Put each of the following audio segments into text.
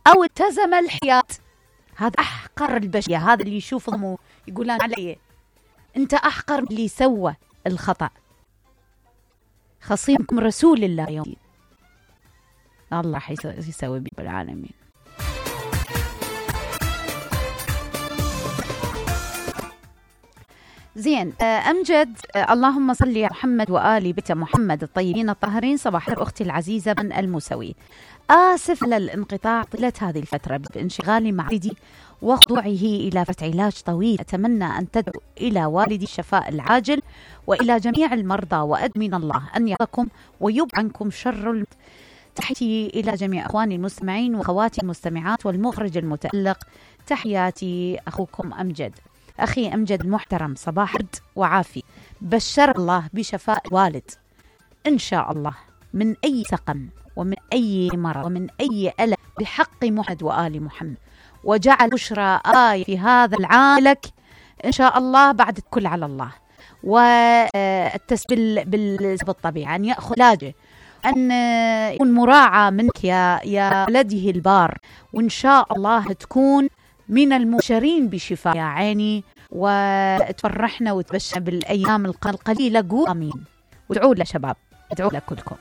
أو التزم الحياة. هذا أحقر البشرية، هذا اللي يشوفهم يقولون عليه أنت أحقر من اللي سوى الخطأ. خصيمكم رسول الله يوم الله راح يسوي بالعالمين. زين. أمجد، اللهم صل على محمد وآل بيت محمد الطيبين الطاهرين. صباح أختي العزيزة من الموسوي، آسف على الانقطاع طيلة هذه الفترة بانشغالي مع والدي وخضوعه إلى فترة علاج طويل. أتمنى أن تدعو إلى والدي الشفاء العاجل وإلى جميع المرضى، وأدمن الله أن يقاكم ويبعد عنكم شر. تحياتي إلى جميع أخواني المستمعين وأخواتي المستمعات والمخرج المتألق. تحياتي أخوكم أمجد. أخي أمجد المحترم، صباح وعافية. بشر الله بشفاء والد إن شاء الله من أي سقم ومن أي مرض ومن أي ألم بحق محمد وآل محمد، وجعل بشرى آية في هذا العام لك إن شاء الله بعد الكل على الله. والتسبيل بالطبيعة أن يأخذ علاجه، أن يكون مراعى منك يا ولده البار، وإن شاء الله تكون من المبشرين بشفاء يا عيني، وتفرحنا وتبشر بالأيام القليلة. قول آمين وادعوا له شباب، ادعوا له كلكم.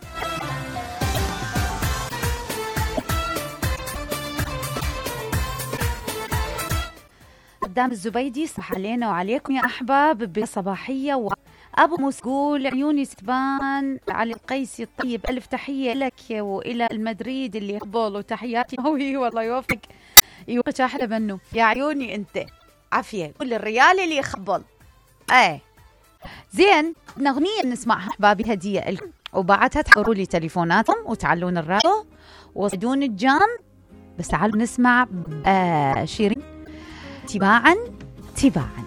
قدام الزبيدي، صح علينا وعليكم يا أحباب بصباحية. أبو مسقول عيوني ستبان علي القيسي الطيب، ألف تحية لك وإلى المدريد اللي يقبل، وتحياتي هوي والله يوفقك يوقف أحلى منه يا عيوني. أنت عافية كل الريال اللي يخبل. زين، أغنية نسمعها أحبابي هدية لكم، وبعدها تحضروا لي تليفوناتكم وتعلون الراديو وصدون الجام. بس تعالوا نسمع شيرين تباعا تباعا.